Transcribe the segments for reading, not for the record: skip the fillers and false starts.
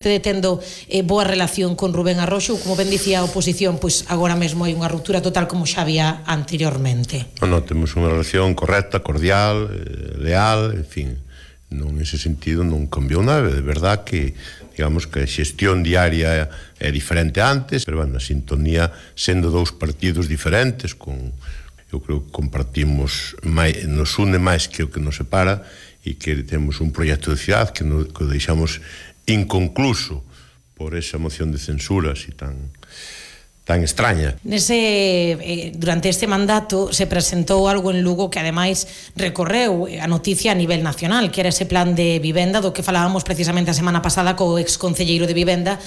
tendo boa relación con Rubén Arroxo, como ben dicía a oposición, pois agora mesmo hai unha ruptura total como xa había anteriormente. Non, temos unha relación correcta, cordial, leal, en fin, non nese sentido non cambiou nada, de verdad que digamos que a xestión diaria é diferente antes, pero bueno, a sintonía sendo dous partidos diferentes, eu creo que compartimos nos une máis que o que nos separa e que temos un proxecto de cidade que deixamos inconcluso por esa moción de censura así tan extraña. Durante este mandato se presentou algo en Lugo que ademais recorreu a noticia a nivel nacional, que era ese plan de vivenda do que falábamos precisamente a semana pasada co exconcelleiro de vivenda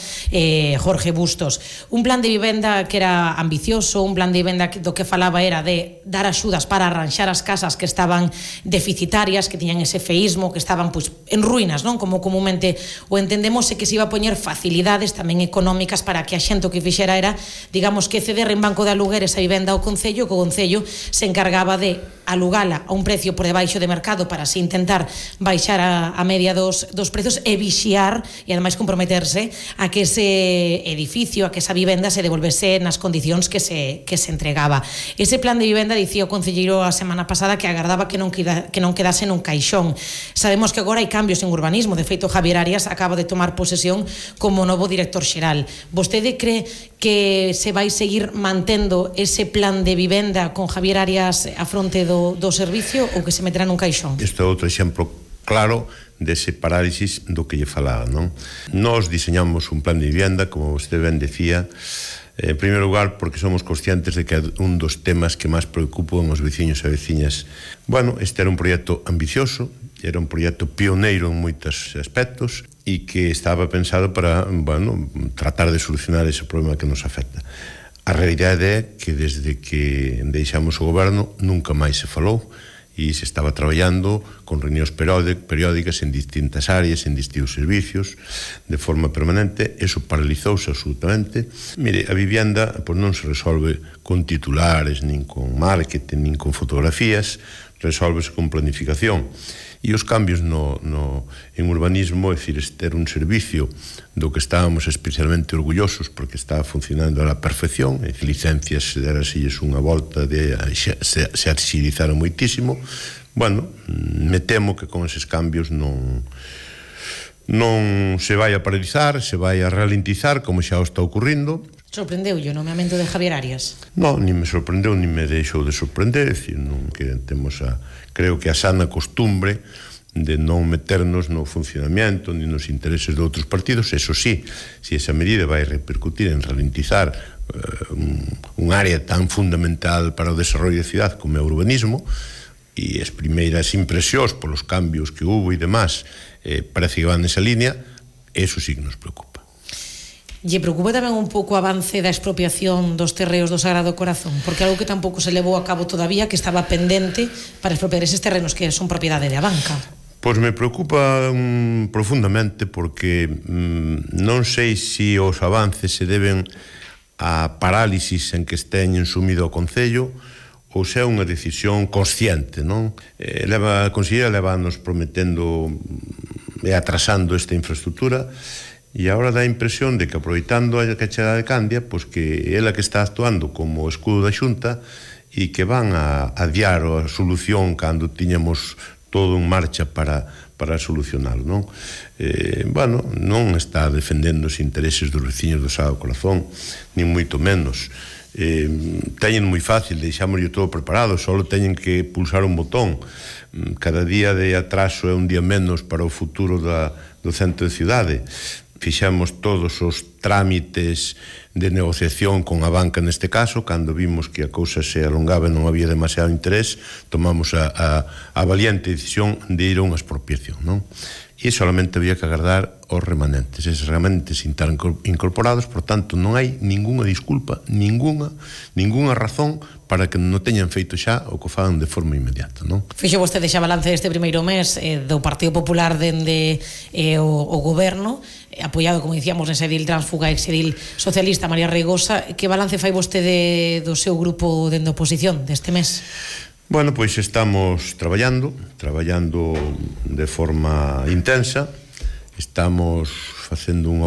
Jorge Bustos. Un plan de vivenda que era ambicioso, un plan de vivenda do que falaba era de dar axudas para arranxar as casas que estaban deficitarias, que tiñan ese feísmo, que estaban pois en ruínas, non? Como comúnmente o entendemos, e que se iba a poñer facilidades tamén económicas para que a xente o que fixera era, digamos, que ceder en banco de aluguer esa vivenda ao Concello, que o Concello se encargaba de alugala a un precio por debaixo de mercado para así intentar baixar a media dos prezos e vixiar e ademais comprometerse a que ese edificio, a que esa vivenda se devolvese nas condicións que se entregaba. Ese plan de vivenda, dicía o concelleiro a semana pasada, que agardaba que non quedase nun caixón. Sabemos que agora hai cambios en urbanismo, de feito Javier Arias acaba de tomar posesión como novo director xeral. Vostede cree que se vai seguir mantendo ese plan de vivenda con Javier Arias a fronte do servicio, ou que se meterá nun caixón? Este é outro exemplo claro dese parálisis do que lle falaba, non? Nós diseñamos un plan de vivenda, como vostede ben decía, en primeiro lugar porque somos conscientes de que é un dos temas que máis preocupan os veciños e veciñas. Bueno, este era un proxecto ambicioso, era un proxecto pioneiro en moitos aspectos e que estaba pensado para, bueno, tratar de solucionar ese problema que nos afecta. A realidade é que desde que deixamos o goberno nunca máis se falou e se estaba traballando con reunións periódicas en distintas áreas, en distintos servicios, de forma permanente. Eso paralizouse absolutamente. Mire, a vivenda pois non se resolve con titulares, nin con marketing, nin con fotografías, resolvese con planificación. E os cambios en urbanismo, é dicir, ter un servicio do que estábamos especialmente orgullosos porque estaba funcionando a la perfección, e licencias derasilles unha volta, se agilizaron moitísimo. Bueno, me temo que con eses cambios non se vai a paralizar, se vai a ralentizar como xa o está ocurrindo. Sorprendeulle o nomeamento de Javier Arias? Non, nin me sorprendeu, nin me deixou de sorprender, é dicir, non que temos creo que a sana costumbre de non meternos no funcionamiento ni nos intereses de outros partidos. Eso sí, se esa medida vai repercutir en ralentizar un área tan fundamental para o desarrollo da cidade como é o urbanismo, e as primeiras impresións polos cambios que hubo e demás parece que van nesa línea, eso sí que nos preocupa. Lle preocupa tamén un pouco o avance da expropiación dos terreos do Sagrado Corazón, porque algo que tampouco se levou a cabo todavía, que estaba pendente para expropiar eses terrenos que son propiedade de Abanca. Pois me preocupa profundamente porque non sei se os avances se deben a parálisis en que esteñen sumido o Concello ou se é unha decisión consciente, non? A conselleira levanos prometendo e atrasando esta infraestructura, e agora dá a impresión de que, aproveitando a chegada de Candia, pois que ela que está actuando como escudo da Xunta e que van a adiar a solución cando tiñamos todo en marcha para solucionalo, non? Bueno, non está defendendo os intereses dos veciños do Sagrado Corazón, nin moito menos. Teñen moi fácil, deixámoslle todo preparado, só teñen que pulsar un botón. Cada día de atraso é un día menos para o futuro do centro de cidade. Fixamos todos os trámites de negociación con a banca neste caso. Cando vimos que a cousa se alongaba e non había demasiado interés, tomamos a valiente decisión de ir a unha expropiación, non? E solamente había que agardar os remanentes. Eses remanentes están incorporados, por tanto non hai ningunha disculpa, ningunha razón para que non teñan feito xa o que fagan de forma inmediata, non? Fixo vostede xa balance deste primeiro mes do Partido Popular dende o goberno, apoiado, como dicíamos, nese edil tránsfuga e exedil socialista María Reigosa. Que balance fai vostede do seu grupo dende a oposición deste mes? Bueno, pois estamos traballando de forma intensa. Estamos facendo unha